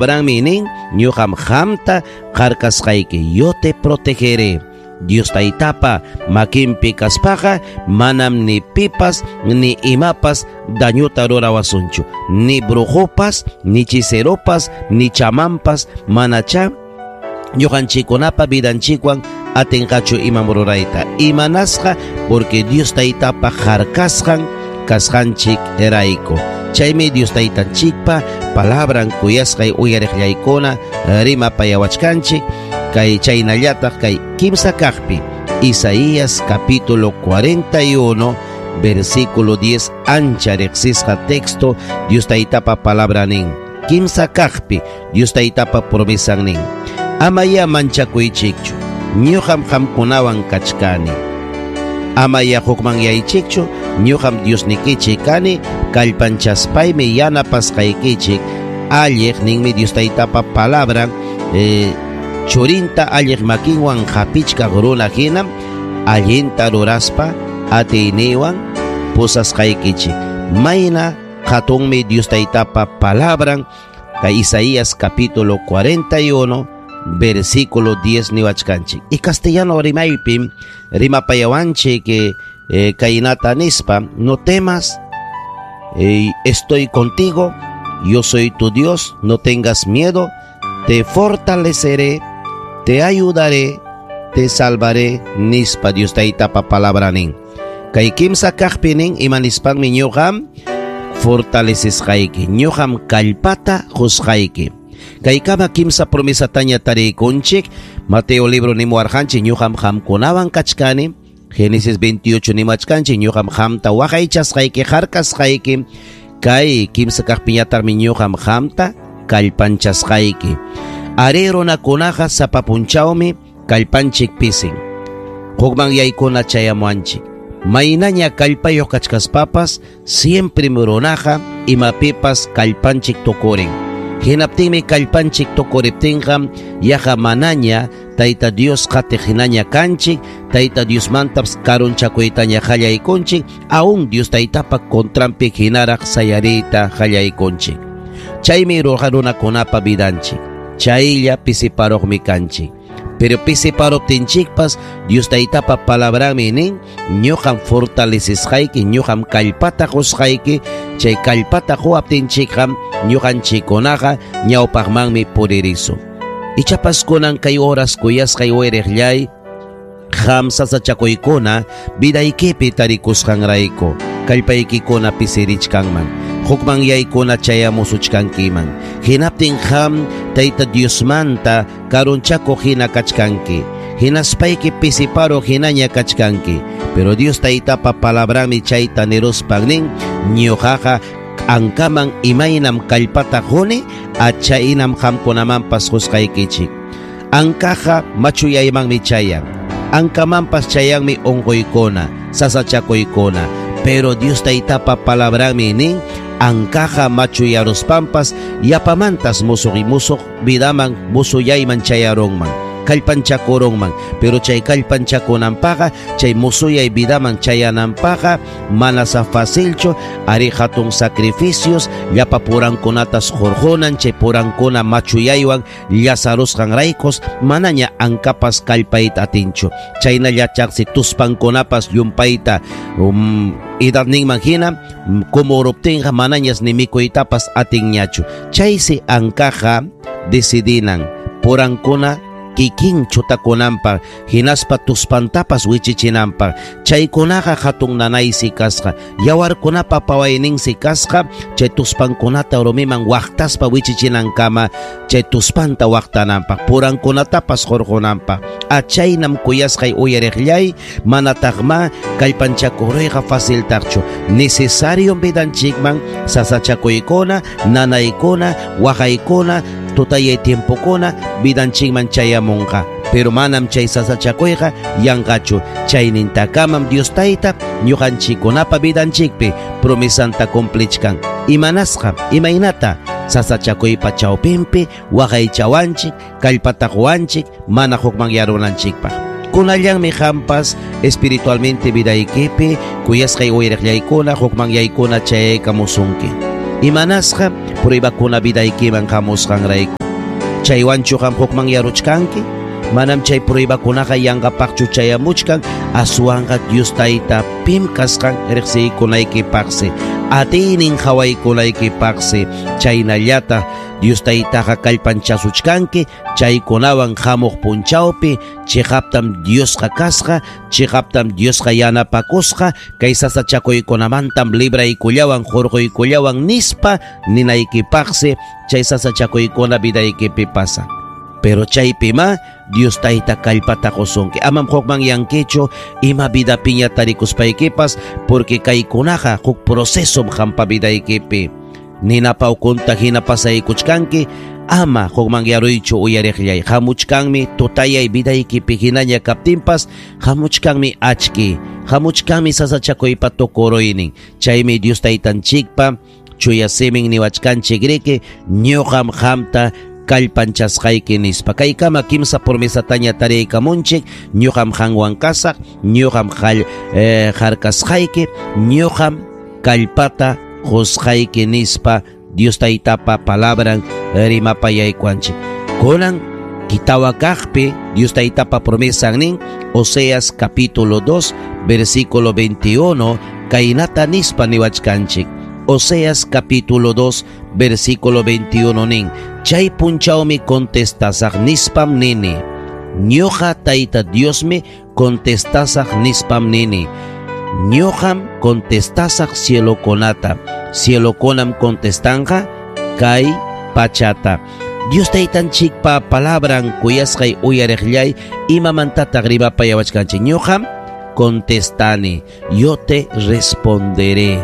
Palabrami nin, ñuqam qamta harkasqayki, yo te protegeré. Dios Taytapa makinpi kaspaqa manam ni pipas ni imapas dañuta rurawasunchu, ni brujopas, ni hechiceropas, ni chamanpas manacha ñuqanchikkunapa vidanchikwan atinqachu imam rurayta. Imanasqa porque Dios Taytapa harkasqan kasqanchik rayku. Chaymi Dios Taytanchikpa palabran kuyasqay uyariqllaykuna rimapayawachkanchik kay chaynallataq kay kimsa kaqpi Isaías capítulo 41 versículo 10 ancha riqsisqa texto Dios Taytapa palabra nin. Kimsa kaqpi Dios Taytapa promesan nin. Amaya manchakuychikchu, ñuqam qamkunawan kachkani. Amaya hukmanyaychikchu, ñuqam Diosnikichik kani, kallpanchaspaymi yanapasqaykichik. Alliq ninmi Dios Taytapa palabran, churinta alliq makinwan hapichkaq runa hinam allinta ruraspa atiyniwan pusasqaykichik. Mayna hatunmi Dios Taytapa palabran kay Isaías capítulo 41 versículo 10 niwachkanchik. Y castellano rimaypim rimapayawanchik kaynata nispa, no temas, estoy contigo, yo soy tu Dios, no tengas miedo, te fortaleceré, te ayudaré, te salvaré, nispa Dios Taytapa palabra nin. Kay kimsa kaqpi nin ima nispanmi ñuqam fortalesesqayki, ñuqam kallpata qusqayki. Kaykama kimsa promesataña tariykunchik, Mateo libro nimuwarqanchik, ñuqam qamkunawan kachkani. Génesis 28 nimachkanchik, ñuqam qamta waqaychasqayki, harkasqayki. Kay kimsa kaqpiñataqmi ñuqam qamta kallpanchasqayki. Ari runakunaqa sapa punchawmi kallpanchik pisin. Hukman yaykuna chayamuanchik. Maynaña kallpayuq kachkaspapas, siempre runaqa imapipas kallpanchik tukurin. Hinaptinmi kallpanchik tukuriptinqa yaqa manaña Tayta Dios qatiq hinaña kanchik, Tayta Diosmantapas karunchakuytaña qallaykunchik, aún Dios Taytapa contranpi hinaraq sayariyta qallaykunchik. Chaymi runakunapa vidanchik, chaylla pisiparuqmi kanchik. Pero pisiparuptinchikpas Dios Taytapa palabranmi nin, ñuqam fortalesesqayki, ñuqam kallpata qusqayki, chay kallpata quwaptinchikqa ñuqanchikkunaqa ñawpaqmanmi puririsun. Ichapas kunan kay horas kuyasqay wiriqllay, qam sasachakuykuna vidaykipi tarikusqanrayku, kallpaykikuna pisirichkanman, hukman yaykuna chayamusuchkankiman. Hinaptin qam Tayta Diosmanta karunchakuq hina kachkanki, hinaspayki pisiparuq hinaña kachkanki. Pero Dios Taytapa palabranmi chayta niruspan nin, ñuqaqa ankaman imaynam kallpata quni, achaynam qamkunamanpas qusqaykichik. Ankaqa machuyaymanmi chayan, ankamanpas chayanmi unquykuna, sasachakuykuna. Pero Dios Taytapa palabranmi nin, ankaqa machuyaruspanpas yapamantas musuq y musuq vidaman musuyayman chayarunman, kallpanchakurunman. Pero chay kallpanchakunanpaqa, chay musuyay vidaman chayananpaqa mana sa facilchu, ari hatun sacrificios, llapa purankunatas hurqunan, chay purankuna machuyaywan llasarusqanraykos manaña ankapas kallpayta atinchu. Chaynallachaqsi tuspankunapas llumpayta edadninman hina kumuruptinqa manañas ni mikuytapas atinñachu. Chaysi ankaqa decidinan purankuna kikin chutakunanpaq, hinaspa tuspantapas wichichinanpaq. Chaykunaqa hatun nanaysi kasqa, yawarkunapa pawayninsi kasqa, chay tuspankunata rumiman waqtaspa wichichinankama, chay tuspanta waqtananpaq, purankunatapas hurqunanpaq. Achaynam kuyasqay uyariqllay, manataqma kallpanchakuruyqa faciltaqchu. Necesario vidanchikman sasachakuykuna, nanaykuna, waqaykuna, tutayay tiempokuna vidanchikman chayamunqa. Pero manam chay sasachakuyqa yanqachu. Chaynintakamam Dios Tayta ñuqanchikkunapa vidanchikpi promesanta cumplichkan. Imanasqa, imaynata sasachakuypa chawpinpi waqaychawanchik, kallpata quwanchik, mana hukmanyarunanchikpaq. Kunallanmi qampas espiritualmente vidaykipi kuyasqay uyariqllaykuna hukmanyaykuna chayaykamusunki. Imanasqa pruebakuna vidaykiman hamusqanrayku. Chaywanchu qam hukmanyaruchkanki? Manam chay pruebakunaqa yanqapaqchu chayamuchkan, aswanqa Dios Tayta pim kasqan riqsiykunaykipaqsi, atiynin qhawaykunaykipaqsi, chaynallata Dios Taytaqa kallpanchasuchkanki, chaykunawan hamuq punchawpi chiqaptam Diosqa kasqa, chiqaptam Diosqa yanapakusqa, kay sasachakuykunamantam libraykullawan hurquykullawan nispa ninaykipaqsi chay sasachakuykuna vidaykipi pasan. Pero chaypima Dios Tayta kallpata qusunki. Amam hukmanyankichu ima vidapiña tarikuspaykipas, porque kaykunaqa huk procesom qampa vidaykipi. Ninapa ukunta hina pasaykuchkanki, ama hukmanyaruychu uyariqllay. Hamuchkanmi tutayay vidaykipi hinaña kaptinpas, hamuchkanmi achki, hamuchkanmi sasachakuypa tukuruynin. Chaymi Dios Taytanchikpa chuya simin niwachkanchik riki, ñuqam qamta kallpanchasqayki nispa. Kaykama kimsa promesataña tariykamunchik, ñuqam qanwan kasaq, ñuqam harkasqayki, ñuqam kallpata qusqayki nispa Dios Taytapa palabran rimapayaykuanchik. Kunan kitawa kaqpi Dios Taytapa promesan nin, Oseas capítulo 2 versículo 21, kaynata nispa niwachkanchik. Oseas capítulo 2 versículo 21 nin, chay punchawmi contestasaq nispam nini. Ñuqa Tayta Diosmi contestasaq nispam nini. Ñuqam contestasaq cielokunata, cielokunam contestanqa kay pachata. Dios Taytanchikpa palabran kuyasqay uyariqllay, imamantataq rimapayawachkanchik. Ñuqam contestani, yo te responderé.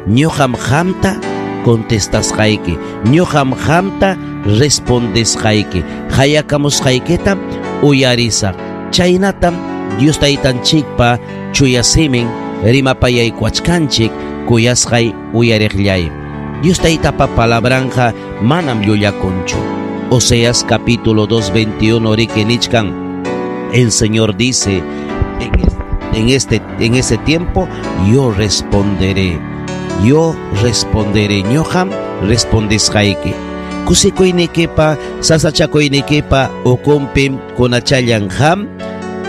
Ñuqam qamta contestasqayki, ñuqam qamta respondesqayki, hayakamusqaykitam uyarisaq. Chaynatam Dios Taytanchikpa chuya simin rimapayaykuwachkanchik kuyasqay uyariqllay. Dios Taytapa palabranqa manam llullakunchu. Oseas capítulo 2, 21 riki nichkan, el Señor dice, en ese tiempo yo responderé. Yo responderé, ñuqam respondesqayki. Kusikuynikipa, sasachakuynikipa ukunpim kunachallan qam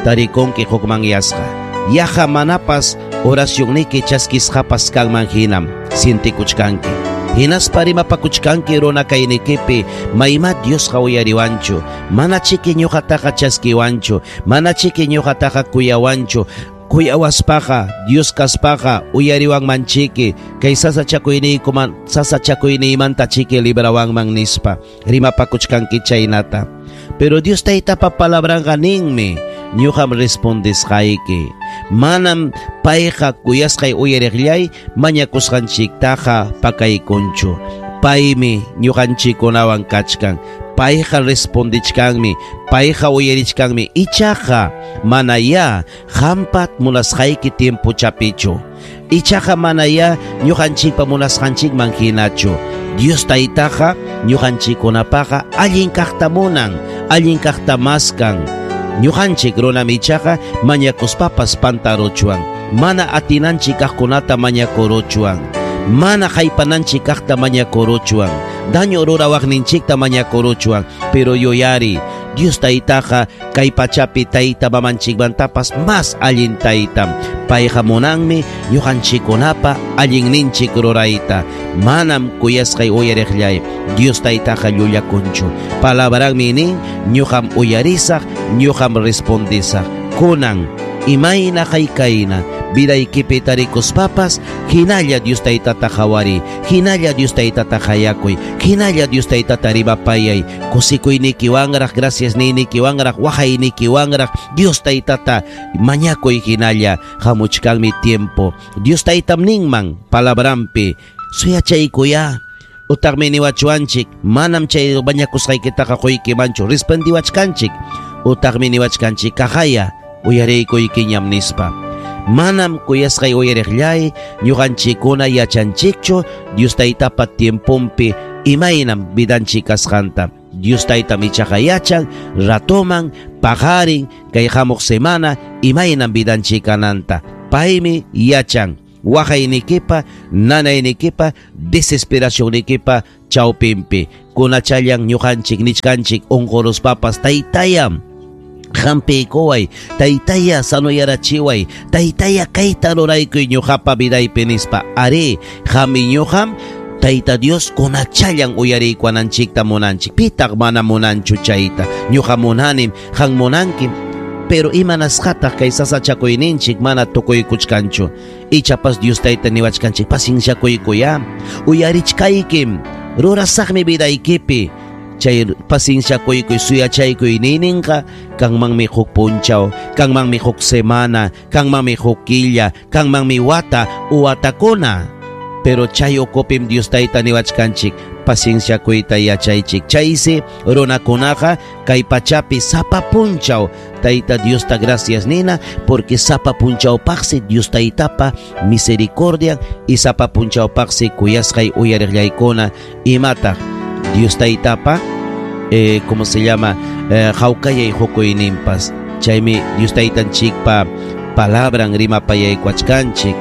tarikunki hukmanyasqa. Yaqa manapas oracionniki chaskisqapas kanman hinam sientikuchkanki. Hinaspa rimapakuchkanki runa kaynikipi, mayma Diosqa uyariwanchu, mana chiki ñuqataqa chaskiwanchu, mana chiki ñuqataqa kuyawanchu. Kuyawaspaqa, Dios kaspaqa uyariwanmanchiki, kay sasachakuyniykuman, sasachakuyniymanta chiki librawanman nispa rimapakuchkanki chaynata. Pero Dios Taytapa palabranqa ninmi, ñuqam respondesqayki. Manam payqa kuyasqay uyariqllay mañakusqanchiktaqa pakaykunchu. Paymi ñuqanchikkunawan kachkan. Payqa respondichkanmi, payqa uyarichkanmi. Ichaqa manaya qampa munasqayki tiempochapichu. Ichaqa manaya ñuqanchikpa munasqanchikman hinachu. Dios Taytaqa ñuqanchikkunapaqa allin kaqta munan, allin kaqta maskan. Ñuqanchik runam ichaqa mañakuspapas pantaruchwan, mana atinanchik kaqkunata mañakuruchwan, mana haypananchik kaqta mañakuruchwan, daño rurawaqninchikta mañakuruchwan. Pero yuyari, Dios Taytaqa kay pachapi tayta mamanchikmantapas mas allin taytam. Payqa munanmi ñuqanchikkunapa allinninchik rurayta. Manam kuyasqay uyariqllay, Dios Taytaqa llullakunchu. Palabranmi nin, ñuqam uyarisaq, ñuqam respondisaq. Kunan imayna haykayna vidaykipi tarikuspapas, hinalla Dios Taytata qhawariy, hinalla Dios Taytata hayakuy, hinalla Dios Taytata rimapayay. Kusikuynikiwanraq, gracias niynikiwanraq, waqaynikiwanraq Dios Taytata mañakuy hinalla. Hamuchkanmi tiempo. Dios Taytam ninman palabranpi, suyachaykuya. Utaqmi niwachuanchik, manam chay mañakusqaykitaqa quykimanchu, respondiwachkanchik. Utaqmi niwachkanchik, kaqaya uyariykuykiñam nispa. Manam kuyasqay uyariqllay, ñuqanchikkuna yachanchikchu Dios Taytapa tiemponpi imaynam vidanchik kasqanta. Dios Taytam ichaqa yachan ratoman paqarin kay hamuq semana imaynam vidanchik kananta. Paymi yachan. Waqaynikipa, nanaynikipa, desesperacionnikipa chawpinpi. Kunachallan ñuqanchik nichkanchik unquruspapas taytayam hampiykuway, taytaya sanoyarachiway, taytaya kayta ruraykuy ñuqapa vidaypi nispa. Arí, qami ñuqam Tayta Dios kunachallan uyariykuwananchikta munanchik. Pitaq mana munanchu chayta. Ñuqa munanim, qam munankim. Pero imanasqataq kay sasachakuyninchik mana tukuykuchkanchu. Ichapas Dios tayta niwachkanchik pacienciakuykuyá. Uyarichkaykim, rurasaqmi vidaykipi. Chay pacienciakuykuy suyachaykuy nininqa kanmanmi huk punchaw, kanmanmi huk semana, kanmanmi huk killa, kanmanmi wata u watakuna. Pero chay ukupim Dios tayta niwachkanchik pacienciakuyta yachaychik. Chaysi runakunaqa kay pachapi sapa punchaw Tayta Diosta gracias nina, porque sapa punchawpaqsi Dios taytapa misericordia y sapa punchawpaqsi kuyasqay uyariqllaykuna imataq Dios taytapa ¿cómo se llama? Hawkayay hukuyninpas. Chaymi Dios taytanchikpa palabran rimapayaykuachkanchik.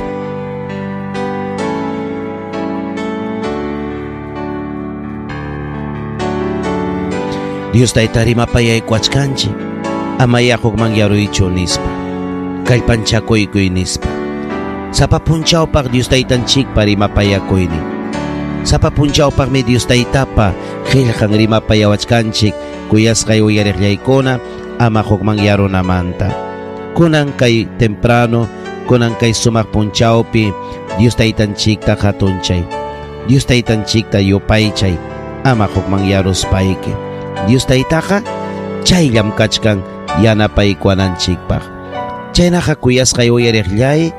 Dios tayta rimapayaykuachkanchik. Amaya hukman yaruychu nispa. Kallpanchakuykuy nispa. Sapa punchawpaq Dios taytanchikpa rimapayakuynin. Sapa punchawpaqmi Dios taytapa qillqan rimapayawachkanchik kuyasqay uyariqllaykuna ama hukman yarunamanta. Kunan kay temprano, kunan kay sumaq punchawpi Dios taytanchikta hatunchay. Dios taytanchikta yupaychay ama hukman yaruspayki. Dios taytaqa chayllam kachkan yanapaykuwananchikpaq. Chaynaqa kuyasqay uyariqllay,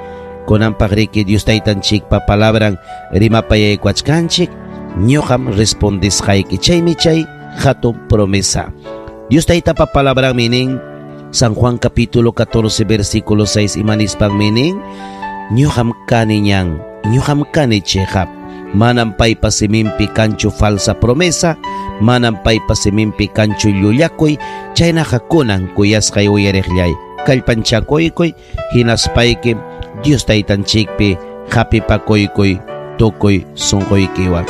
kunanpaq riki Dios taytanchikpa palabran rimapayaykuachkanchik, ñuqam respondisqayki. Chaymi chay hatun promesa. Dios taytapa palabranmi nin, San Juan capítulo 14 versículo 6 imanispanmi nin, ñuqam kani ñan, ñuqam kani chiqap. Manam paypa siminpi kanchu falsa promesa, manam paypa siminpi kanchu llullakuy, chaynaqa kunan kuyasqay uyariqllay, kallpanchakuykuy, hinaspayki Dios taytanchikpi hapipakuykuy tukuy sunquykiwan.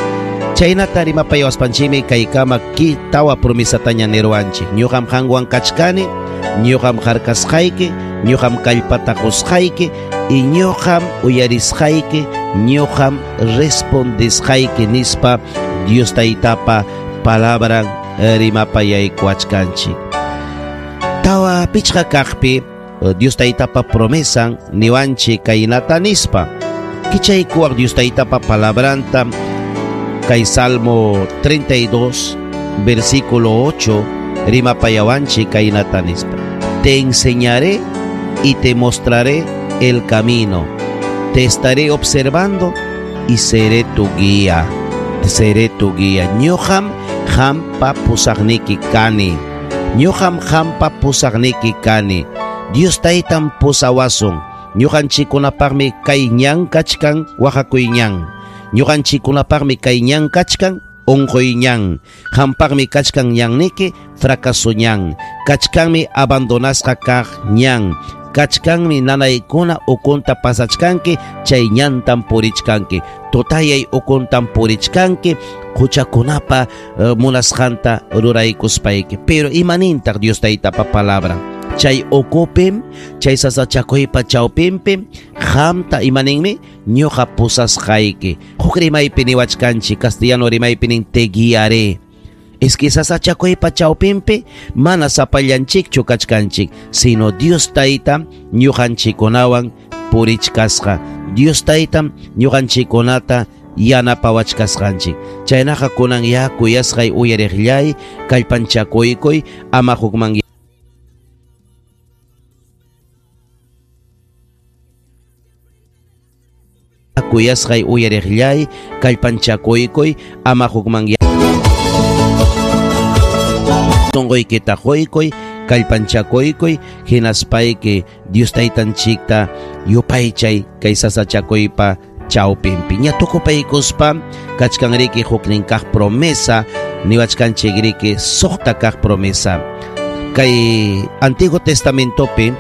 Chaynata rimapayawaspanchikmi kaykama ki tawa promesataña niruwanchik. Ñuqam qanwan kachkani, ñuqam harkasqayki, ñuqam kallpata qusqayki, y ñuqam uyarisqayki, ñuqam respondisqayki nispa Dios taytapa palabran rimapayaykuachkanchik. Tawa pichqa kaqpi Dios taytapa promesan niwanchik kaynata nispa. Kichaykuwaq Dios taytapa palabranta kay Salmo 32 versículo 8 rimapayawanchik kaynata nispa. Te enseñaré y te mostraré el camino. Te estaré observando y seré tu guía. Seré tu guía. Ñuqam qampa pusaqniki kani. Ñuqam qampa pusaqniki kani. Dios taytam pusawasun. Ñuqanchikkunapaqmi kay ñan kachkan waqakuy ñan. Ñuqanchikkunapaqmi kay ñan kachkan unquy ñan. Qampaqmi kachkan ñanniki fracaso ñan. Kachkanmi abandonasqa kaq ñan. Kachkanmi nanaykuna ukunta pasachkanki, chay ñantam purichkanki. Tutayay ukuntam purichkanki, huchakunapa munasqanta ruraykuspayki. Pero imanintaq Dios taytapa palabra? Chay ukupim, chay sasachakuypa chawpinpim, qamta imaninmi ñuqa pusasqayki. Huk rimaypi niwachkanchik, castellano rimaypi nin te guiaré. Es que sasachakuypa chawpinpi mana sapallanchikchu kachkanchik, sino Dios tayta ñuqanchikkunawan purichkasqa. Dios taytam ñuqanchikkunata yanapawachkasqanchik. Chaynaqa kunan ya kuyasqay uyariqllay, kallpanchakuykuy, ama hukman kuyasqay uyariqllay, kallpanchakuykuy, ama hukman sunquykita quykuy, kallpanchakuykuy, hinaspayki Dios taytanchikta yupaychay kay sasachakuypa chawpinpi. Ña tukupaykuspa kachkan riki huknin kaq promesa, niwachkanchik riki suqta kaq promesa. Kay Antiguo Testamentopi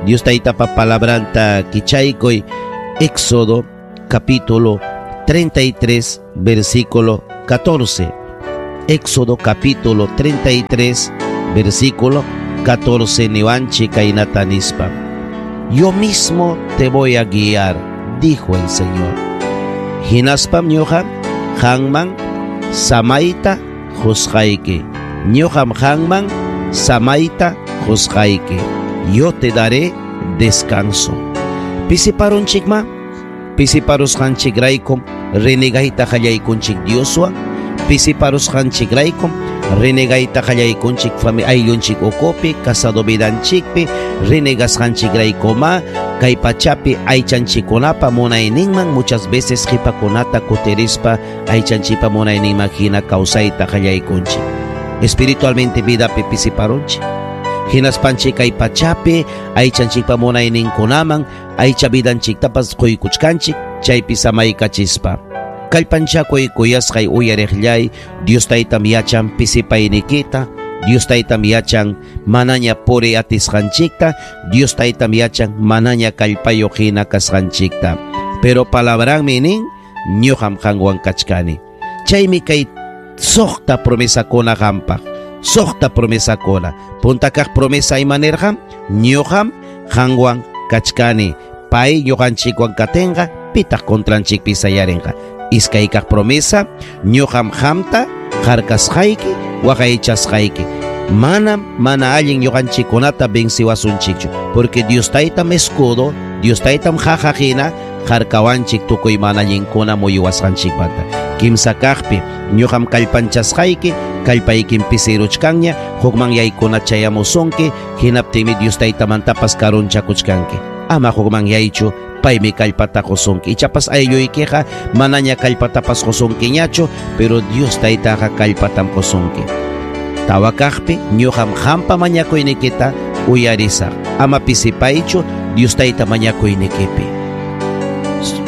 Dios taytapa palabranta kichaykuy, Éxodo capítulo 33, versículo 14. Éxodo capítulo 33, versículo 14 niwanchik kaynata nispa. Yo mismo te voy a guiar, dijo el Señor. Hinaspam ñuqa qanman samayta qusqayki. Ñuqam qanman samayta qusqayki. Yo te daré descanso. Pisiparunchikma, pisiparusqanchikraykum renegayta qallaykunchik Dioswan, pisiparusqanchikraykum renegayta qallaykunchik ayllunchik ukupi, casado vidanchikpi, renegasqanchikraykuma kay pachapi aychanchikkunapa munayninman muchas veces qipakunata kutirispa aychanchikpa munayninman hina kawsayta qallaykunchik. Espiritualmente vidapi pisiparunchik. Hinaspanchik kay pachapi aychanchikpa munayninkunaman aycha vidanchiktapas quykuchkanchik chaypi samaykachispa. Kallpanchakuy kuyasqay uyariqllay, Dios taytam yachan pisipaynikita, Dios taytam yachan manaña puri atisqanchikta, Dios taytam yachan manaña kallpayuq hina kasqanchikta. Pero palabranmi nin, ñuqam qanwan kachkani. Chaymi kay suqta promesakuna qampaq, suqta promesakuna. Punta kaq promesa ima nirqan? Ñuqam qanwan kachkani. Pay ñuqanchikwan katinqa, pitaq contranchikpi sayarinqa. Iskay kaq promesa, ñuqam qamta harkasqayki, waqaychasqayki. Manam mana allin ñuqanchikkunata venciwasunchikchu, porque Dios taytam escudo, Dios taytam qaqa hina harkawanchik tukuy mana allinkuna muyuwasqanchikmanta. Kimsa kaqpi, ñuqam kallpanchasqayki, kallpaykim pisiruchkanña, hukmanyaykuna chayamusunki, hinaptinmi Dios taytamantapas karunchakuchkanki. Ama hukmanyaychu, paymi kallpata qusunki. Ichapas aylluykiqa manaña kallpatapas qusunkiñachu, pero Dios taytaqa kallpatam qusunki. Tawa kaqpi, ñuqam qampa mañakuynikita uyarisaq. Ama pisipaychu Dios tayta mañakuynikipi.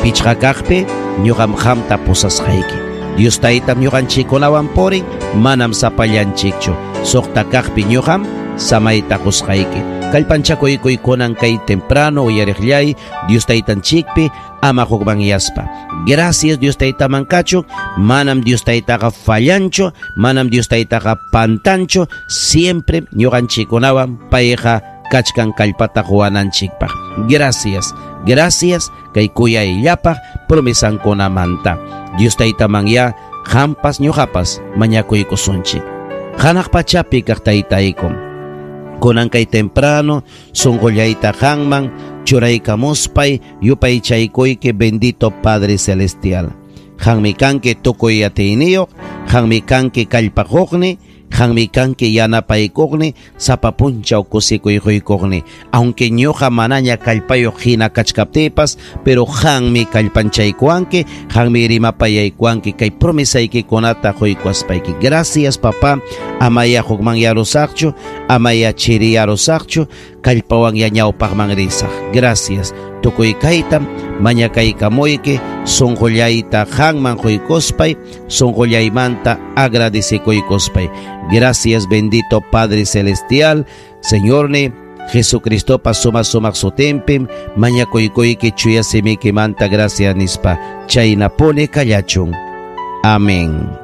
Pichqa kaqpi, ñuqam qamta pusasqayki. Dios taytam ñuqanchikkunawan purin, manam sapallanchikchu. Suqta kaqpi ñuqam samayta qusqayki. Kallpanchakuykuy kunan kay temprano uyariqllay Dios taytanchikpi ama hukmanyaspa. Gracias Dios taytaman kachun, manam Dios taytaqa fallanchu, manam Dios taytaqa pantanchu, siempre ñuqanchikkunawan payqa kachkan kallpata quwananchikpaq. Gracias, gracias kay kuyayllapaq promesankunamanta. Dios taytaman ya qampas ñuqapas mañakuykusunchik. Hanaq pachapi kaq taytaykum, kunan kay temprano sunqullayta qanman churaykamuspay yupaychaykuyki, bendito Padre Celestial. Qanmi kanki tukuy atiyniyuq, qanmi kanki kallpaquqni, qanmi kanki yanapaykuqni, sapa punchaw kusikuy quykuqni. Aunque ñuqa manaña kallpayuq hina kachkaptiypas, pero qanmi kallpanchaykuwanki, qanmi rimapayaykuwanki kay promesaykikunata quykuwaspayki. Gracias, papá. Amaya hukmanyarusaqchu, amaya chiriyarusaqchu, kallpawan ya ñawpaqman risaq. Gracias. Tukuy kaytam mañakaykamuyki, sunqullayta qanman quykuspay, sunqullaymanta agradecekuykuspay. Gracias, bendito Padre Celestial, Señorni Jesucristopa suma sumaq sutinpim mañakuykuyki chuya simikimanta gracias nispa. Chaynapuni kallachun. Amén.